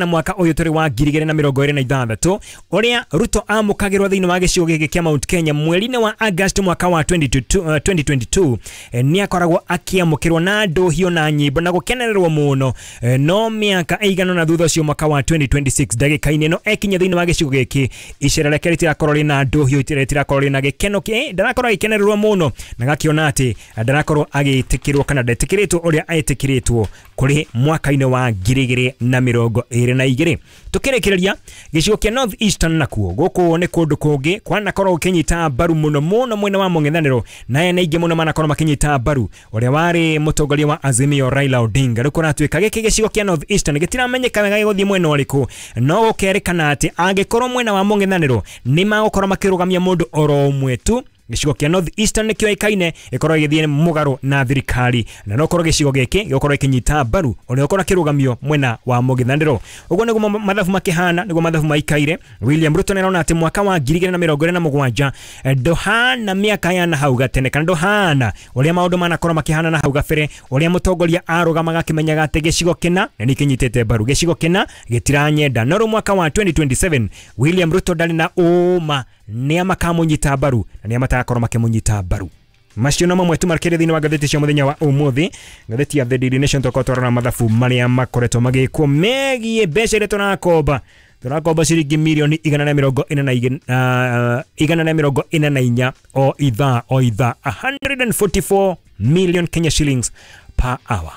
Mwaka ũyũ tũrĩ wa 2026, ũrĩa Ruto amũkagĩrwo thĩinĩ wa gĩcigo gĩkĩ kĩa Mount Kenya mweri-inĩ wa August mwaka wa 2022, nĩ akoragwo akĩamũkĩrwo na ndũhio na nyĩmbo na gũkenererwo mũno. No mĩaka ĩigana na thutha ũcio, mwaka wa 2026, ndagĩka-inĩ ĩno ekinya thĩinĩ wa gĩcigo gĩkĩ, icera rĩake rĩtirakorwo rĩna ndũhio, rĩtirakorwo rĩna gĩkeno, ndarakorwo agĩkenererwo mũno, na gakĩona atĩ ndarakorwo agĩtĩkĩrwo kana ndetĩkĩrĩtwo ũrĩa etĩkĩrĩtwo kũrĩ mwaka-inĩ wa 2022. Tukĩrĩkĩrĩria gĩcigo kĩa North Eastern, nakuo gũkũ nĩ kũndũ kũngĩ kwanakorwo gũkĩnyita mbaru mũno mũno mwena wa mũng'ethanĩro, na ene aingĩ mũno manakorwo makĩnyita mbaru ũrĩa warĩ mũtongoria wa Azimio, Raila Odinga. Rĩu kũratuĩka gĩkĩ gĩcigo kĩa North Eastern gĩtiramenyeka wega gĩgũthiĩ mwena ũrĩkũ, no gũkerĩkana atĩ angĩkorwo mwena wa mũng'ethanĩro nĩ magũkorwo makĩrũgamia mũndũ oro ũmwe tu, gĩcigo kĩa North Eastern nĩkĩo ĩkaine ĩkorwo ĩgĩthiĩ mũgarũ na thirikari, na no korwo gĩcigo gĩkĩ gĩgũkorwo ĩkĩnyita mbaru ũrĩa ũkorwo akĩrũgamio mwena wa mũng'ethanĩro. Ũguo nĩguo mathabu makĩhana, nĩguo mathabu maikaire. William Ruto nĩarona atĩ mwaka wa 2027 ndũhana mĩaka ya na hau gatene, kana ndũhana ũrĩa maũndũ manakorwo makĩhana na hau gabere, ũrĩa mũtongoria arũgamaga akĩmenyaga atĩ gĩcigo kĩna nĩ kĩnyitĩte mbaru, gĩcigo kĩna gĩtiranyenda. No rĩu mwaka wa 2027 William Ruto ndarĩ na ũma nĩa makamũnyita mbaru na nĩa matagakorwo makĩmũnyita mbaru. Macio no mamwe tu makĩria thĩinĩ wa ngathĩti cia mũthenya wa ũmũthĩ. Ngathĩti ya The Daily Nation, tũkorwo twarora mathabu marĩa makoretwo magĩkwo megiĩ mbeca iria tũrakomba. Tũrakomba ciringi mirioni 144 o ithaa o ithaa, 144 million Kenya shillings per hour,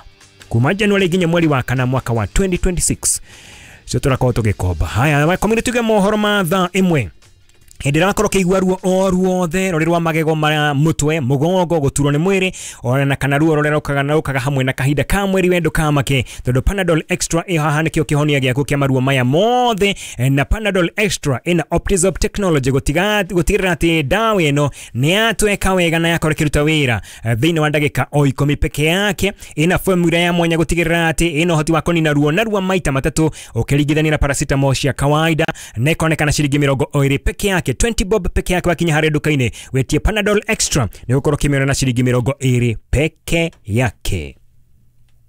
kuma January nginya mweri wa kana mwaka wa 2026, cio tũrakorwo tũgĩkomba. Haya, community, tuge mohoro ma thaa 1. Hĩndĩ ĩrĩa wakorwo ũkĩigua ruo o ruothe rũrĩ rwa magego, ma mũtwe, mũgongo, gũturwo nĩ mwĩrĩ, ona kana ruo rũrĩa rũkaga na rũkaga hamwe na kahinda ka mweri, we ndũkamake, tondũ Panadol Extra ĩ haha nĩkĩo kĩhonia gĩaku kĩa maruo maya mothe. Na Panadol Extra ĩna Optizop technology gũtigĩrĩra atĩ ndawa ĩno nĩ yatweka wega na yakorwo ĩkĩruta wĩra thĩinĩ wa ndagĩka o 10 peke yake. Ĩna formula ya mwanya gũtigĩrĩra atĩ ĩna ũhoti wa kũnina ruo narua maita matatũ ũkĩringithania na paracetamol cia kawaida, na ĩkonekana ciringi 20 peke yake, 20 bob peke yake. Wakinya harĩa nduka-inĩ wĩtie Panadol Extra, nĩ ũgũkorwo ũkĩmĩona na ciringi 20 peke yake.